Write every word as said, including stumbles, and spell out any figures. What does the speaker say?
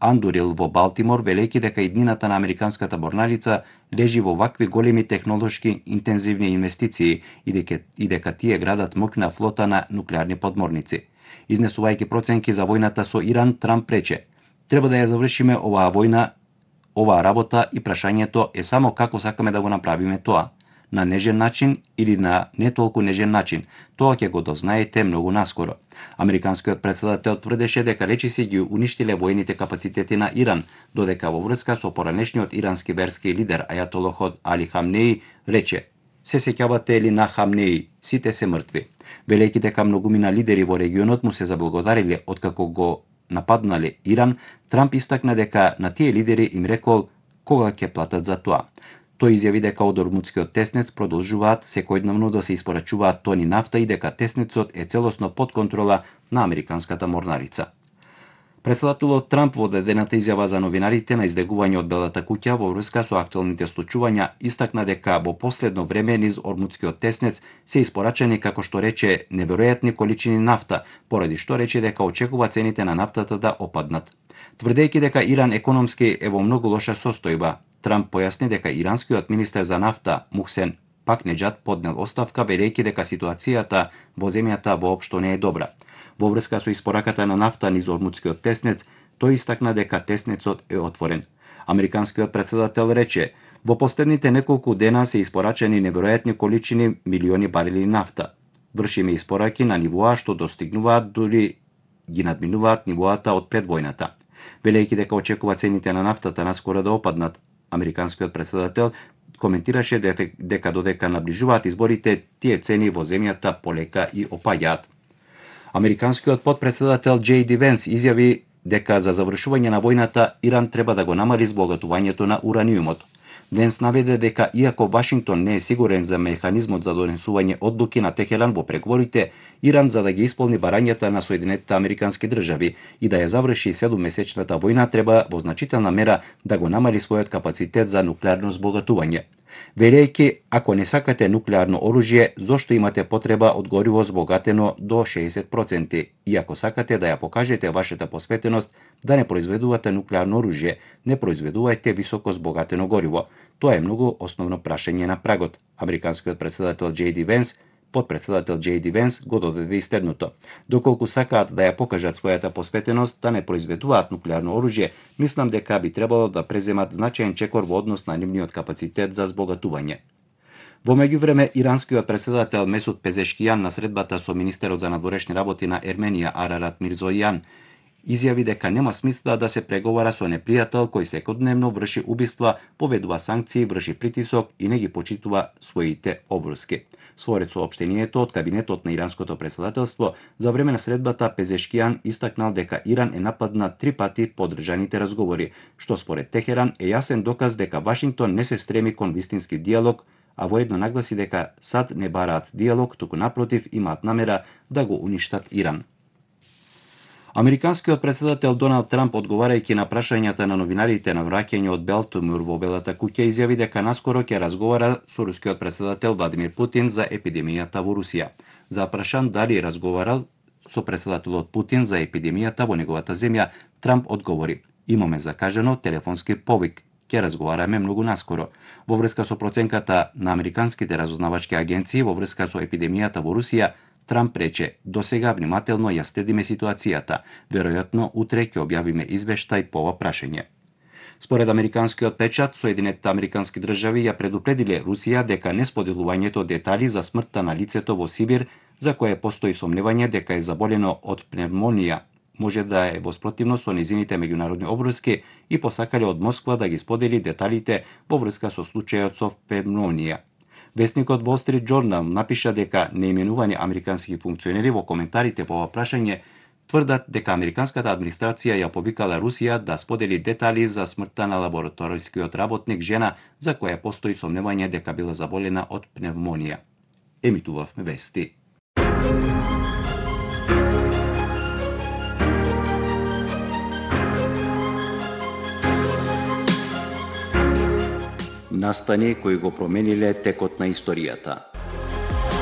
Андурил во Балтимор, велејќи дека иднината на американската морнарица лежи во вакви големи технолошки интензивни инвестиции и дека, и дека тие градат моќна флота на нуклеарни подморници. Изнесувајќи проценки за војната со Иран, Трамп рече: "Треба да ја завршиме оваа војна, оваа работа и прашањето е само како сакаме да го направиме тоа. На нежен начин или на не толку нежен начин, тоа ќе го дознаете многу наскоро." Американскиот претседател тврдеше дека речиси ги уништиле војните капацитети на Иран, додека во врска со поранешниот ирански верски лидер Ајатолохот Али Хамнеи рече: "Се сеќавате ли на Хамнеи, сите се мртви." Велејќи дека многумина лидери во регионот му се заблагодариле откако го нападнале Иран, Трамп истакна дека на тие лидери им рекол кога ќе платат за тоа. Тој изјави дека од Ормутскиот теснец продолжуваат секојдневно да се испорачуваат тони нафта и дека теснецот е целосно под контрола на американската морнарица. Претседателот Трамп во дадената изјава за новинарите на издегување од Белата куќа во врска со актуелните случувања истакна дека во последно време низ Ормутскиот теснец се испорачани, како што рече, неверојатни количини нафта, поради што рече дека очекува цените на нафтата да опаднат. Тврдејќи дека Иран економски е во многу лоша состојба, Трамп појасни дека иранскиот министер за нафта Мухсен Пакнеџад поднел оставка, велејќи дека ситуацијата во земјата воопшто не е добра. Во врска со испораката на нафта низ Ормутскиот теснец, тој истакна дека теснецот е отворен. Американскиот претседател рече: "Во последните неколку дена се испорачани неверојатни количини милиони барели нафта. Вршиме испораки на нивоа што достигнуваат дури ги надминуваат нивоата од пред војната." Велејќи дека очекува цените на нафтата наскоро да опаднат, американскиот претседател коментираше дека додека наближуваат изборите, тие цени во земјата полека и опаѓаат. Американскиот потпредседател Џеј Ди Венс изјави дека за завршување на војната Иран треба да го намали збогатувањето на ураниумот. Венс наведе дека иако Вашингтон не е сигурен за механизмот за донесување одлуки на Техеран во преговорите, Иран за да ги исполни барањата на Соединетите Американски држави и да ја заврши седуммесечната војна, треба во значителна мера да го намали својот капацитет за нуклеарно збогатување. Велејќи, ако не сакате нуклеарно оружје, зошто имате потреба од гориво збогатено до шеесет проценти? И ако сакате да ја покажете вашата посветеност да не произведувате нуклеарно оружје, не произведувајте високо збогатено гориво. Тоа е многу основно прашање на прагот. Американскиот претседател Џеј Ди Венс, потпредседател Џеј Ди Венс го додаде и следното: "Доколку сакаат да ја покажат својата посветеност да не произведуваат нуклеарно оружје, мислам дека би требало да преземат значаен чекор во однос на нивниот капацитет за збогатување." Во меѓувреме, иранскиот претседател Месуд Пезешкијан на средбата со министерот за надворешни работи на Ерменија Арарат Мирзојан изјави дека нема смисла да се преговара со непријател кој секојдневно врши убиства, поведува санкции, врши притисок и не ги почитува своите обврски. Според соопштението од кабинетот на иранското претседателство, за време на средбата Пезешкијан истакнал дека Иран е нападнат три пати по одржаните разговори, што според Техеран е јасен доказ дека Вашингтон не се стреми кон вистински диалог, а воедно нагласи дека САД не бараат диалог, туку напротив имаат намера да го уништат Иран. Американскиот претседател Доналд Трамп, одговарајќи на прашањата на новинарите на враќање од Балтимор во Белата куќа, изјави дека наскоро ќе разговара со рускиот претседател Владимир Путин за епидемијата во Русија. За прашан дали разговарал со претседателот Путин за епидемијата во неговата земја, Трамп одговори: "Имаме закажано телефонски повик. Ќе разговараме многу наскоро." Во врска со проценката на американските разузнавачки агенции во врска со епидемијата во Русија, Трамп рече: "Досега внимателно ја следиме ситуацијата. Веројатно утре ќе објавиме извештај по ова прашање." Според американскиот печат, Соединетите Американски држави ја предупредиле Русија дека несподелувањето детали за смртта на лицето во Сибир, за кое постои сомневање дека е заболено од пневмонија, може да е во спротивност со низините меѓународни обврски и посакале од Москва да ги сподели деталите во врска со случајот со пневмонија. Весникот Wall Street Journal напиша дека неименувани американски функционери во коментарите по ова прашање тврдат дека американската администрација ја повикала Русија да сподели детали за смртта на лабораторискиот работник жена за која постои сомневање дека била заболена од пневмонија. Емитувавме вести. Настани кои го промениле текот на историјата.